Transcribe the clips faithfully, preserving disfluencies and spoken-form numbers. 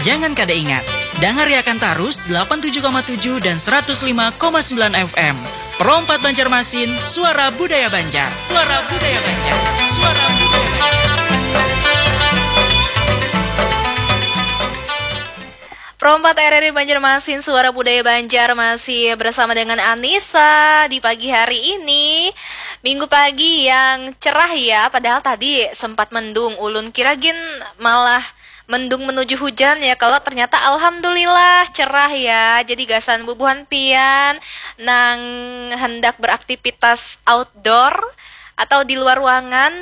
Jangan kada ingat, dangariakan tarus delapan tujuh koma tujuh dan seratus lima koma sembilan F M. Pro empat Banjarmasin, suara budaya Banjar. Suara budaya Banjar. Suara budaya Banjar. Pro empat R R I Banjarmasin, suara budaya Banjar, masih bersama dengan Anissa di pagi hari ini. Minggu pagi yang cerah ya, padahal tadi sempat mendung. Ulun kira gin malah mendung menuju hujan ya, kalau ternyata alhamdulillah cerah ya. Jadi gasan bubuhan pian nang hendak beraktivitas outdoor atau di luar ruangan,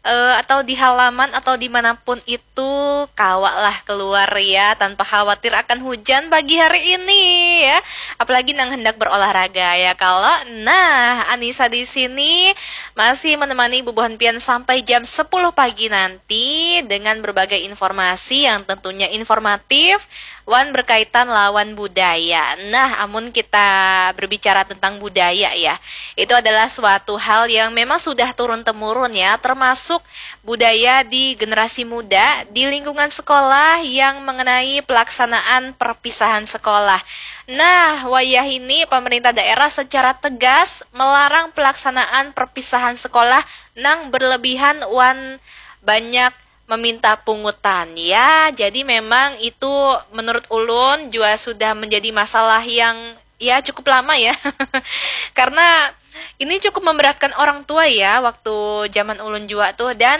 eh, atau di halaman atau dimanapun itu, kawa lah keluar ya tanpa khawatir akan hujan pagi hari ini ya. Apalagi nang hendak berolahraga ya kalau. Nah, Anissa di sini masih menemani bubuhan pian sampai jam sepuluh pagi nanti dengan berbagai informasi yang tentunya informatif wan berkaitan lawan budaya. Nah, amun kita berbicara tentang budaya ya, itu adalah suatu hal yang memang sudah turun temurun ya, termasuk budaya di generasi muda di lingkungan sekolah yang mengenai pelaksanaan perpisahan sekolah. Nah, wayah ini pemerintah daerah secara tegas melarang pelaksanaan perpisahan sekolah nang berlebihan wan banyak meminta pungutan ya. Jadi memang itu menurut ulun juga sudah menjadi masalah yang ya cukup lama ya. Karena ini cukup memberatkan orang tua ya waktu zaman ulun juga tuh. Dan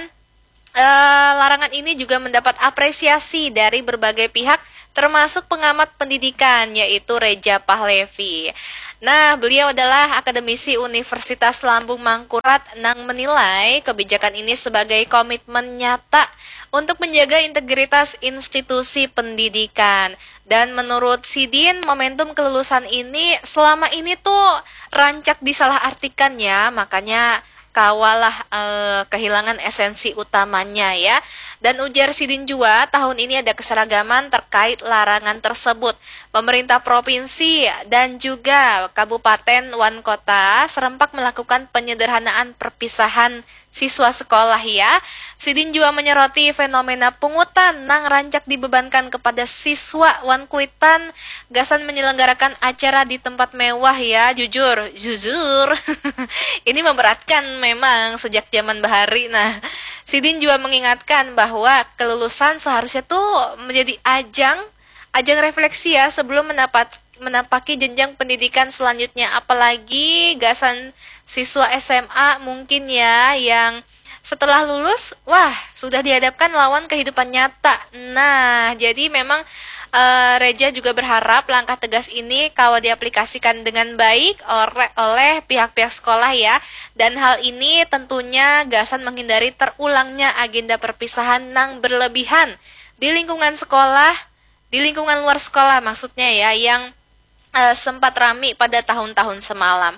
eh, larangan ini juga mendapat apresiasi dari berbagai pihak, termasuk pengamat pendidikan, yaitu Reja Pahlevi. Nah, beliau adalah akademisi Universitas Lambung Mangkurat nang menilai kebijakan ini sebagai komitmen nyata untuk menjaga integritas institusi pendidikan. Dan menurut sidin, momentum kelulusan ini selama ini tuh rancak disalahartikan ya, makanya kawalah eh, kehilangan esensi utamanya ya. Dan ujar sidin jua, tahun ini ada keseragaman terkait larangan tersebut. Pemerintah provinsi dan juga kabupaten wan kota serempak melakukan penyederhanaan perpisahan siswa sekolah ya. Sidin juga menyoroti fenomena pungutan nang rancak dibebankan kepada siswa wan kuitan gasan menyelenggarakan acara di tempat mewah ya. Jujur, jujur. Ini memberatkan memang sejak zaman bahari. Nah, sidin juga mengingatkan bahwa kelulusan seharusnya tuh menjadi ajang ajang refleksi ya sebelum mendapat menapaki jenjang pendidikan selanjutnya, apalagi gasan siswa S M A mungkin ya yang setelah lulus, wah, sudah dihadapkan lawan kehidupan nyata. Nah, jadi memang eh, Reja juga berharap langkah tegas ini kawa diaplikasikan dengan baik oleh pihak-pihak sekolah ya. Dan hal ini tentunya gasan menghindari terulangnya agenda perpisahan nang berlebihan di lingkungan sekolah, di lingkungan luar sekolah maksudnya ya, yang eh, sempat rami pada tahun-tahun semalam.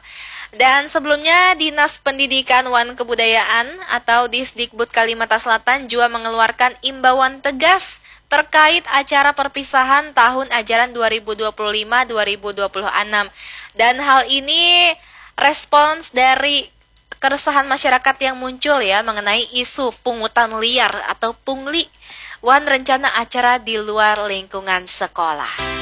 Dan sebelumnya, Dinas Pendidikan wan Kebudayaan atau Disdikbud Kalimantan Selatan juga mengeluarkan imbauan tegas terkait acara perpisahan tahun ajaran dua ribu dua puluh lima dua ribu dua puluh enam. Dan hal ini respons dari keresahan masyarakat yang muncul ya mengenai isu pungutan liar atau pungli wan rencana acara di luar lingkungan sekolah.